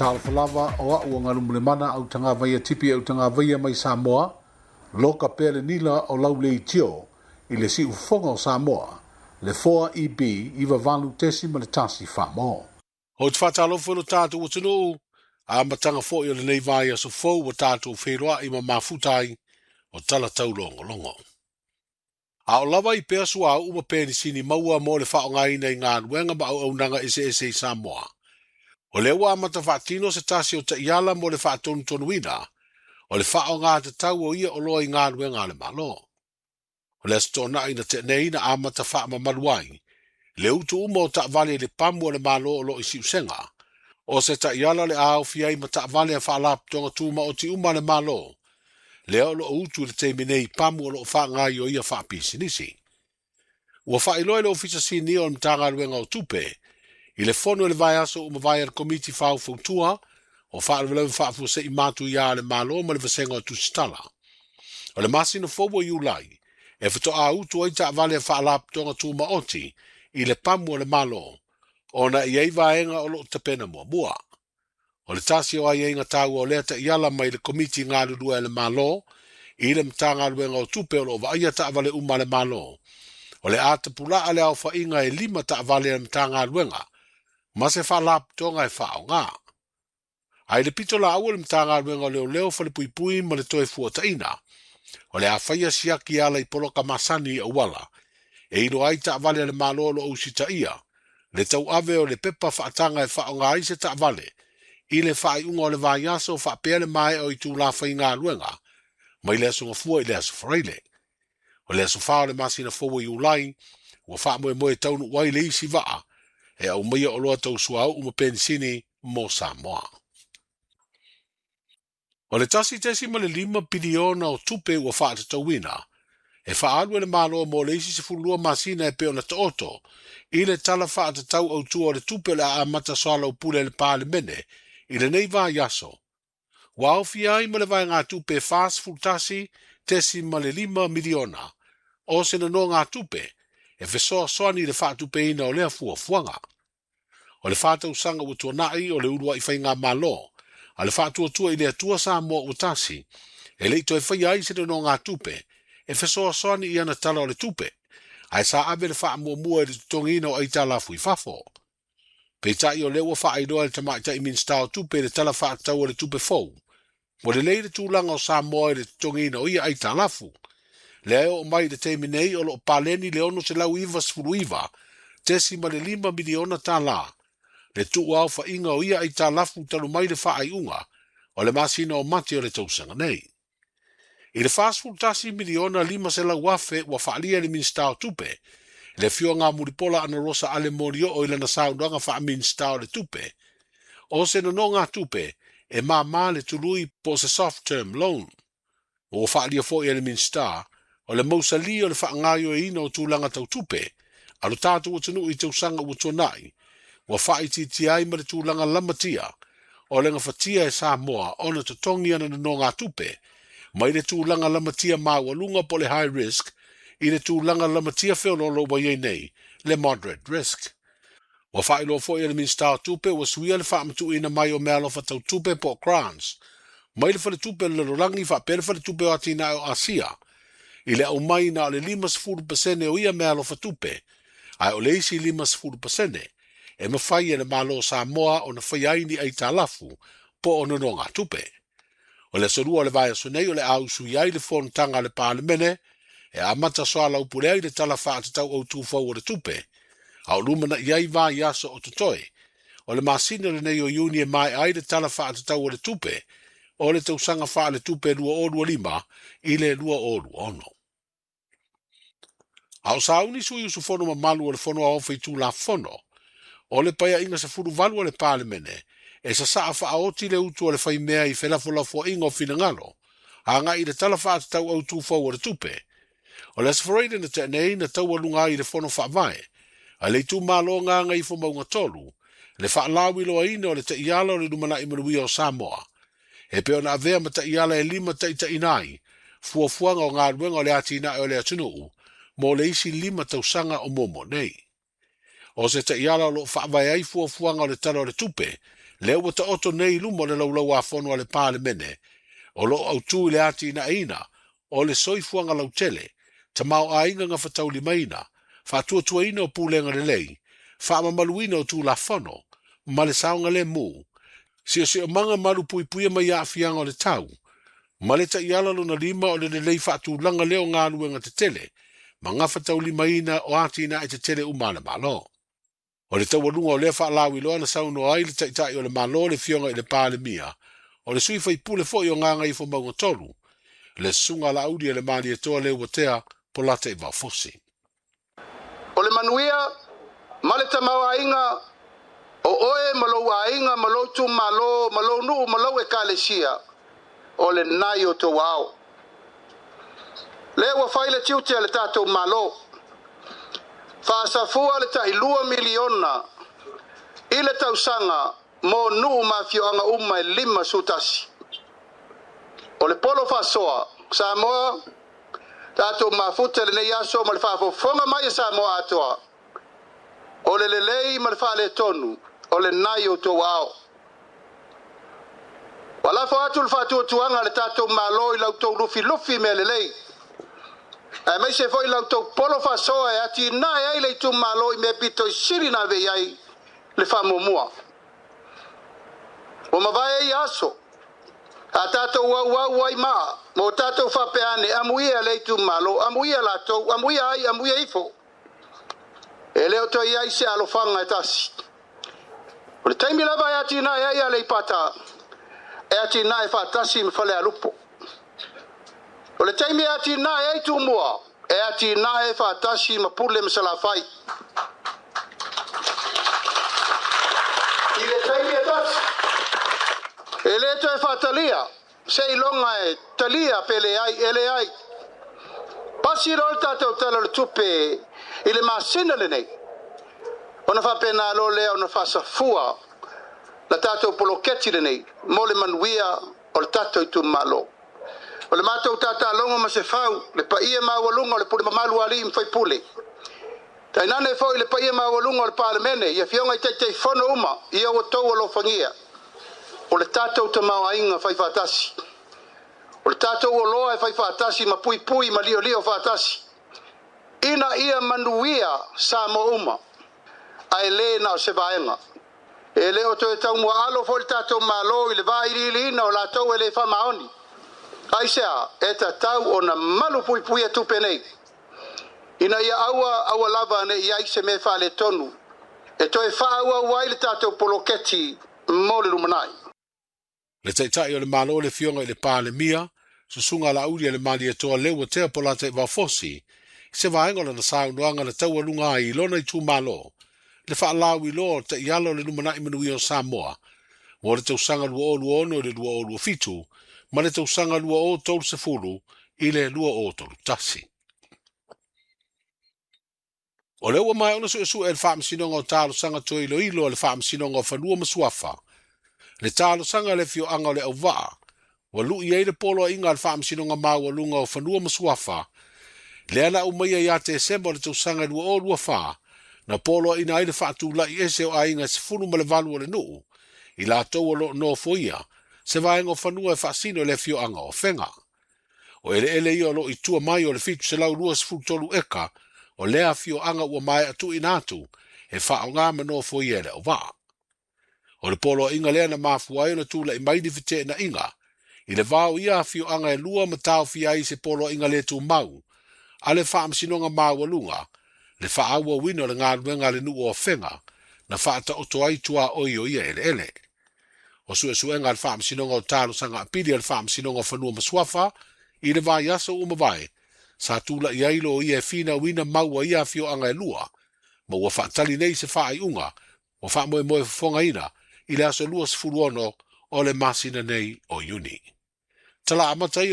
Talofa lava o a'u o Galumalemana Autagavaia Tipi Autagavaia mai Samoa, loka pea le nila o lau leitio i le siufofoga o Samoa, le 4EB 98.1 Famo. Ou te faatalofa i lo tatou atunuu, amataga foi o lenei vaiaso fou ua tatou feiloai ma mafuta ai o tala taulogologo. A o lava i pea suauu ma penisini maua mo le faaaogaina i galuega ma auaunaga eseese i Samoa. O lea ua amata faatino se tasi o taiala mo le faatonutonuina o le faaaoga tatau o ia oloa i galuega a le Malo. O le Aso Toonai na tea nei na amata faamamalu ai le utu uma o taavale i le pamu a le Malo o lo o i Siusega. O se taiala o le a aofia ai ma taavale a faalapotopotoga tumaoti uma a le Malo, lea o lo o utu i le taimi nei i pamu o lo o faagaoioia faapisinisi. Ua faailoa e le Ofisa Sinia o le Matagaluega o Tupe i le fono i le vaiaso ua mavae a le Komiti Faufautua o Faalavelave Faafuasei Matuia a le Malo ma le Vasega o Tusitala. O le masina fou o Iulai e faatoa utu ai taavale a faalapotopotoga tumaoti i le pamu a le Malo, ona e i ai vaega o lo o tapena muamua. O le tasi o aiaiga taua o lea taiala mai le Komiti Galulue a le Malo i le Matagaluega o Tupe o lo o vaaia taavale uma a le Malo, o le a tapulaa le aofaiga e 5 taavale a le Matagaluega ma se faalapotopotoga e faaaoga. Ae i le pito laau o le Matagaluega o Leoleo, Falepuipui ma le Toe Fuataina, o le a faia siaki e ala i poloka masani i auala, e iloa ai taavale a le Malo o lo o usitaia, le tauave o le pepa faataga e faaaoga ai se taavale i le faaiuga o le vaiaso faapea le maea o itula faigaluega mai le aso Gafua i le aso Faraile. O le aso 4 o le masina fou o Iulai, ua faamoemoe taunuu ai le isi vaa e aumaia oloa tau suauu ma penisini mo Samoa. O le 1.5 piliona o tupe ua faatatauina e faaalu e le Malo mo le isi 12 masina e pei ona taoto i le tala faatatau autu o le tupe o le a amata soalaupule e le Palemene i lenei vaiaso. Ua aofia ai ma le vaegatupe 41.5 miliona o se nonogatupe e fesoasoani i le faatupeina o lea fuafuaga. O le 4 tausaga ua tuanai o le uluai faigamalo a le Faatuatua i le Atua Samoa ua Tasi, e le i toe faia ai se nonogatupe e fesoasoani i ana tala o le tupe, ae sa ave le faamuamua i le totogiina o aitalafu i fafo. Peitai o lea ua faailoa e le tamaitai Minisita o Tupe i le tala faatatau o le tupe fou, ua lelei le tulaga o Samoa i le totogiina o ia aitalafu. Lea e oo mai i le taimi nei o lo o paleni le $699.5 miliona tala le tuuaofaiga o ia aitalafu talu mai le faaiuga o le masina o Mati o le tausaga nei. I le 41 miliona 500 afe ua faalia e le Minisita o Tupe, le afioga Mulipola Anarosa Ale Molioo i lana saunoaga faa-Minisita o le Tupe, o se nonogatupe e māmā le tului po o se soft term loan. Ua faalia foi e le Minisita o le mausali o le faagaoioiina o tulaga tau tupe a lo tatou atunuu i tausaga ua tuanai, ua faaitiitia ai ma le tulaga lamatia o le gafatia e Samoa ona totogi ana nonogatupe mai le tulaga lamatia maualuga po o le high risk i le tulaga lamatia feoloolo ua i ai nei, le moderate risk. Ua faailoa foi e le Minisita o Tupe ua suia le faamatuuina mai o meaalofa tau tupe po o grants mai le Faletupe o le Lalolagi faapea le Faletupe o Atinae o Asia i le aumai na o le 50% o ia meaalofa tupe, ae o le isi 50% e mafai e le Malo o Samoa ona faia ai ni aitalafu po o nonogatupe. O le aso 2 o le vaiaso nei o le a usui ai le fonotaga a le Palemene e amata soalaupule ai le tala faatatau autu fou o le tupe, a o lumanai ai vaiaso o totoe. O le masina lenei o Iuni e maea ai le tala faatatau o le tupe o le tausaga faaletupe 2025 i le 2026. A o sauni sui usufono mamalu o le Fono Aoao Faitulafono o le Paeaiga 18 o le Palemene e sasaa faaoti le utu a le faimea i felafolafoaiga o finagalo agai i le tala faatatau autu fou o le tupe. O le Aso Faraile na tea nei na taualuga ai i le Fono Faavae a le itumalo Gagaifomauga 3 le faalauiloaina o le taiala o le lumanai manuia o Samoa e pei ona avea ma taiala e limataitaiina ai fuafuaga o galuega o le atinae o le atunuu mo le isi 5 tausaga o muamua nei. O se taiala o lo o faavae ai fuafuaga o le Tala o le Tupe Lea ua taoto nei i luma o le Laulau-a-Fono a le Palemene, o lo o autū i le atinaeina o le soifuaga lautele, tamaoaiga gafataulimaina, faatuatuaina o pulega lelei, faamamaluina o Tulafono, ma le saogalemu, siosiomaga malupuipuia mai aafiaga o le tau, ma le taiala lona lima o le lelei faatulaga lea o galuega tetele ma gafataulimaina o atinae tetele uma a le Malo. O le taualuga o lea faalauiloa na saunoa ai le Taitai o le Malo le Afioga i le Palemia, o le sui faipule foi o Gagaifomauga 3, le Susuga a Laauli e le Malietoa Leuatea Polataivao Fosi. O le manuia ma le tamaoaiga o oe ma lou aiga ma lou itumalo ma lou nuu ma lou ekalesia, o lena i o outou aao. Lea ua fai le tiute a le tatou Malo, faasafua le tai $2 miliona i le tausaga mo nuu ma afioaga uma e 51. O le polo faasoa Samoa, tatou mafuta lenei aso ma le faafofoga mai e Samoa atoa, o le lelei ma le faaletonu o lena i outou aao. Ua lafo atu le faatuatuaga a le tatou Malo i la outou lufilufi mea lelei, aemaise foi la outou polo faasoa e atinae ai le itumalo i mea pito i sili na ave i ai le faamuamua. Ua mavae ia aso, a tatou auau ai maa, mo tatou faapea ane, amuia le itumalo, amuia latou, amuia ai, amuia ifo. E le o toe i ai se alofaga e tasi. O le taimi lava e atinae ai Aleipata, e atinae faatasi ma Falealupo. O le taimi e atinae ai Tumua, e atinae faatasi ma Pule ma Salafai. I le taimi e tasi, e le toe faatalia, se iloga e talia pe leai, e leai. Pasi loa le tatou Tala o le Tupe i le masina lenei, ona faapena loa lea ona faasafua la tatou poloketi lenei mo le manuia o le tatou itumalo. O le matou tatalogo ma se fau, le paia maualuga o le pule mamalu a alii ma faipule. Tainane foi le paia maualuga o le Palemene, i afioga i Taitaifono uma, ia ua outou alofagia. O le tatou tamaoaiga faifaatasi. O le tatou oloa e faifaatasi ma puipui ma liolio faatasi. Ina ia manuia Samoa uma, ae le na o se vaega. E le o toe taumuaalo foi le tatou Malo i le vailiiliina o latou e le faamaoni. Aisea, e tatau ona malu puipuia tupe nei. Ina ia aua aua lava ne i ai se mea faaletonu e toe faaauau ai le tatou poloketi mo le lumanai. Le Taitai o le Malo le Afioga i le Palemia, Susuga Laauli a le Malietoa Leuatea Polataivao Fosi, se vaega o lana saunoaga na taualuga ai i lona itumalo, le faalauiloa o taiala o le lumanai manuia o Samoa, mo le tausaga 2026 i le 2027, ma le tausaga 2030 i le 2031. O lea ua maea ona suesue e le Faamasinoga o Talosaga Toe Iloilo a le Faamasinoga o Fanua ma Suafa, le talosaga a le afioaga o Leauvaa, ua lui ai le poloaiga a le Faamasinoga Maualuga o Fanua ma Suafa, lea na aumaia ia Tesema o le tausaga 2024, na poloaiina ai le faatulai ese o aiga 18 o le nuu, i latou o loo nofoia, se vaega o fanua e faasino i le afioaga o Afega. O eleele ia o loo i tua mai o le 723 eka, o lea afioaga ua maea tuuina atu e faaaoga ma nofoia e Leauvaa. O le poloaiga lea na mafua ai ona tulai mai ni feteenaiga, i le va o ia afioaga e lua ma taofia ai se poloaiga le tumau, a le Faamasinoga Maualuga, le faaauauina o le galuega a le nuu o Afega, na faataoto ai tuaoi o ia eleele. O suesuega a le Faamasinoga o Talosaga Apili a le Faamasinoga o Fanua ma Suafa, i le vaiaso ua mavae, sa tulai ai loia e finauina mau a ia afioaga e lua, ma ua faatali nei se faaiuga ua faamoemoe fofogaina i le aso 26 o le masina nei o Iuni. Tala amata ia.